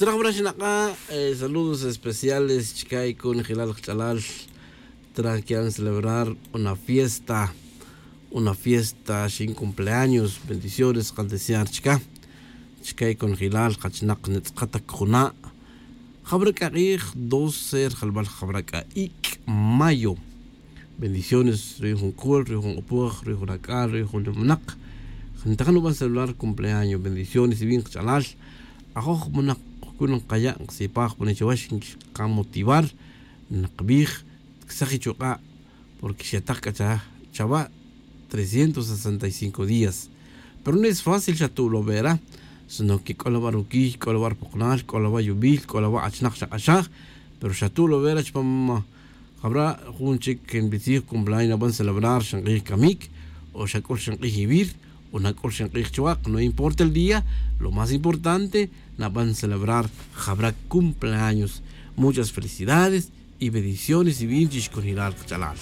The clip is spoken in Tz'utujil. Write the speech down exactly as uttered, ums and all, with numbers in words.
Traj wara xnak'a' saludos especiales chike' conjelal kach'alal. Traj quieren celebrar una fiesta, una fiesta xin cumpleaños. Bendiciones kan desear chike' chike' conjelal kachinak nitz'akatac juna'. Jabara' k'a k'ij doce rjalbal jabara' k'a ic' mayo. Bendiciones ruy' jun c'ul ruy' jun q'upoj ruy' jun ac'al ruy' jun lumanak. Ntajan nuban celular cumpleaños bendiciones y bin kach'alal. Ajoj manak kacun nkaya' nkasipaj pone chawax nkamotivar. Nkabij tkasaj ichuk'a' porque xatak c'a chawa' trescientos sesenta y cinco días. Pero no es fácil xatu'lobera sino que c'o lawa' ruquiy c'o lawa' rupoknal c'o lawa' yubil c'o lawa' achinak xak'axaj. Pero xatu'lobera chupam jabara' jun chic nbitzij cumpleaños naban celebrar xank'ij camic o xac'ul xank'ij ivir o nac'ul xank'ij chuak no importa el día. Lo más importante naban celebrar jabara' cumpleaños. Muchas felicidades y bendiciones y bin chixcunjelal kach'alal.